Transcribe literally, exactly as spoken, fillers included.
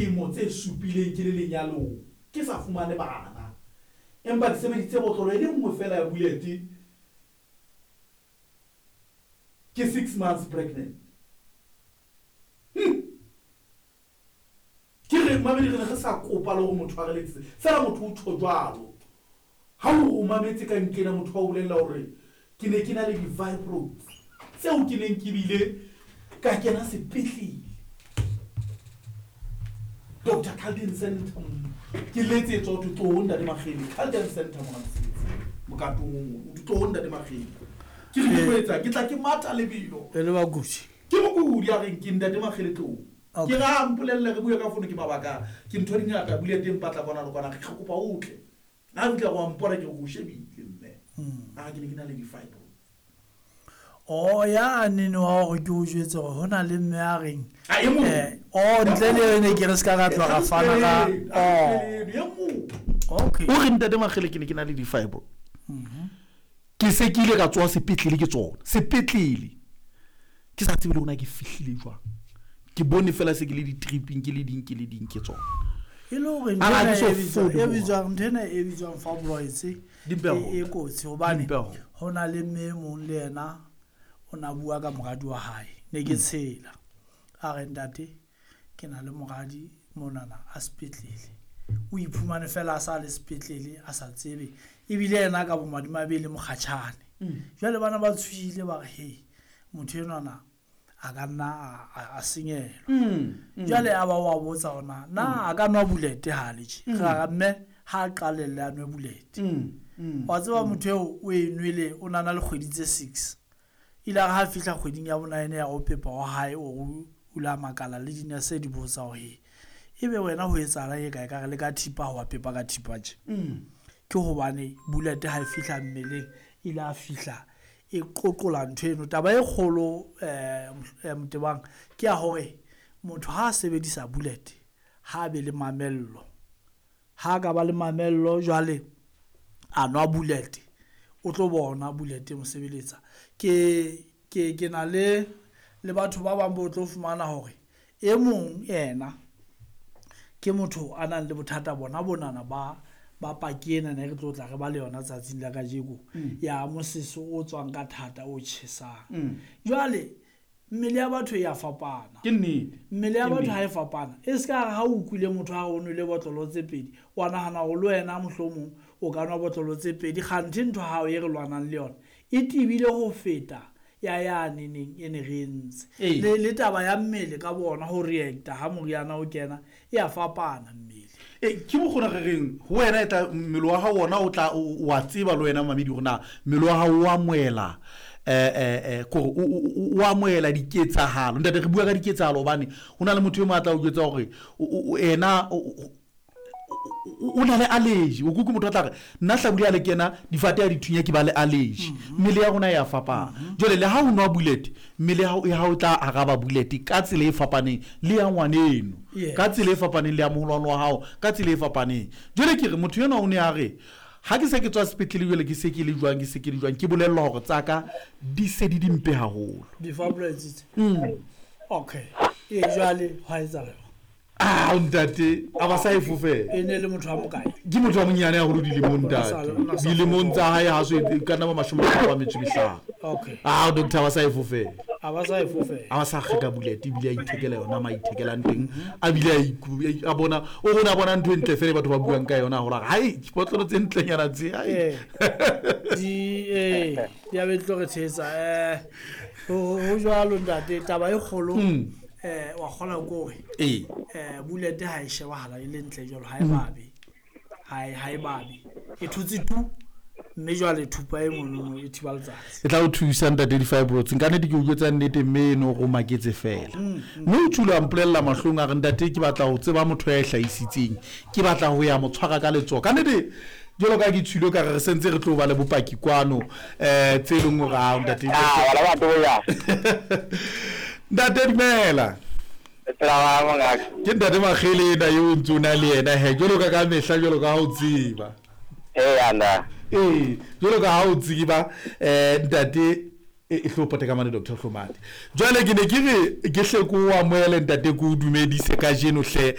Dilemo tse supileng ke le lenyalong ke sa fumane bana, empa ke sebedisitse botlolo e le nngwe fela ya bullet ke six months pregnant. Hmm. Ke re mamedi re ne re sa kopa le hore motho a re letsetse fela motho o tjho jwalo. Ha o o mametse ka nkena motho a o bolella hore ke ne ke na le di-fibroids tseo ke neng ke bile ka kena sepetlele. Doctor Carlton Center ke letsetswa ho thwe tloho ntate Makgele Carlton Center mona mosebetsing mokatong o mong o thwe tloho ntate Makgele. Ke re ke tlo etsang? Ke tla ke matha lebelo. E le bakudi. Ke mokudi a reng ke ntate Makgele tloho. Okay. Ke re a mpolelle re bue ka fono ke mabaka ke ntho di ngata bule teng patla kwana le kwana re kopa o tle. Ha fihla wa mpona ke re o shebile mme. A ke ne ke na le di-fibroids. O ya nene wa hore ke o jwetse hore ho na le mme a reng A e mong. eh o ntle le ene ke re se ka ra tloha ra fana ka oh. o okay O re ntate Makgele ke ne ke na le di-fibroids. Ke se ke ile ka tsoha sepetlele ke tsona. Sepetlele. Ke sa tsebe le hore na ke fihlile jwang. Ke bone fela se ke le di-tripping ke le ding ke le ding ke tsona. E le hore A ntho ke so ena e bitswang- fole e bitswang ntho ena e bitswang fibroids e Di mpe haholo. e kotsi hobane Di mpe haholo. ho na le mme e mong le yena o na bua ka moradi wa hae ne ke tshela a re ntate ke na le moradi monana a sepetlele o iphumane fela a sa le sepetlele a sa tsebe ebile yena ka bomadimabe le mokgatjhane jwale bana ba tshohile ba re he motho enwana a ka nna a- a a senyehelwa jwale a ba wa botsa hore na a ka nwa bulete ha le tje ra re mme ha a qalelle a nwe bulete wa tseba motho eo o e nwele o nana le kgwedi tse six ile a re ha fihla kgweding ya bonaene ya go pepa wa hae o o ile a makala le dinese di botsa hore he ebe wena ho etsahalang e kae ka re le ka thipa ha wa pepa ka thipa tje ke hobane bulete ha e fihla mmeleng ile a fihla e qoqola ntho eno taba e kgolo um Motebang ke ya hore motho ha a sebedisa bullet ha a be le mamello ha a ka ba le mamello jwale a nwa bullet o tlo bona bullet e mo sebeletsa ke ke ke na le le batho ba bang bo tlo fumana hore e mong yena ke motho a nang le bothata bona bonana ba ba paki ena ne re tlo tla re ba le yona tsatsing la kajeko ya moseso o tswang ka thata o tjhesang jwale mmele ya batho e ya fapana Ke nnete. mmele ya Ke batho nnete. ha e fapana e se ka re ha o utlwile motho ha o nwele botlolo tse pedi wa nahana hore le wena mohlomong o ka nwa botlolo tse pedi kganthe ntho hao e re lwanang le yona e tebile ho feta ya yane neng e ne re entse Ee. le le taba ya mmele ka bona ho reacta ha moriana o kena e a fapana mmele E ke mokgona re reng ho wena e tla mmele wa hao ona o tla o o a tseba le wena mamedi hore na mmele wa hao o amohela eh eh eh kore o o- o amohela diketsahalo ntate re bua ka diketsahalo hobane ho na le motho e mong a tla o jwetsa hore o- o- o- ena o- o o na le allergy o kuku motho a tla re nna hlabula ya le kena difate ya dithunya ke ba le allergy mmele ya rona e a fapana jwale le ha o nwa bullet mmele ya hao ya hao e tla araba bullet ka tsela e fapaneng le ya ngwaneno Yeah. ka tsela e fapaneng le ya moholwane wa hao ka tsela e fapaneng jwale ke re motho enwa o ne a re ha ke se ke tswa sepetlele jwale ke se ke le jwang ke se ke le jwang ke bolellwa hore tsa ka di se di dimpe haholo di-fibroids tse okay ee jwale hwa etsahala jwang? ah ntate a ba sa e fofela e ne le motho wa mokae ke motho wa monyane haholo dilemong O na sa- ntate o na sa dilemong tsa hae ha so e ka nna ba mashome a mararo a metso e mehlano okay ah doctor ba sa e fofela a ba sa e fofela a ba sa kgeka bullet ebile a ithekela yona ma ithekelang teng a bile a iku- a bona o rona a bona ntho e ntle fela e batho ba buang ka yona hore hai dipotlolo tse ntlenyana tse hai ee di ee di a be di tlo re tshehetsa um ho ho jwalo ntate taba e kgolo um wa kgola ke hore ee um bulete ha e shebahala e le ntle jwalo ha e babe ha e ha e babe e thotse tu mme jwale thupa e monono e thiba letsatsi e tla o thusa ntate di-fibroids nka nnete ke o jwetsa nnete mme eno go maketse fela mme o tshule a mpolella mahlong a re ntate ke batla ho tseba motho ya e hlahisitseng ke batla ho ya mo tshwara ka letsoho ka nnete jwalo ka ke tshwile ka re re sentse re tlo ba le bopaki kwano um tse e leng hore ao ntate Ah, wala batho boya. ntate dumela Tsela wa mongaka. ke ntate Makgele ena eo o ntse o na le yena he jwalo ka ka mehla jwalo ka ha o tseba Eh anda. ee jwalo ka ha o tseba um ntate e e hlo pote ka mane doctor Hlomane jwale ke ne ke re ke hle ko o amohele ntate ke o dumedise kajeno hle.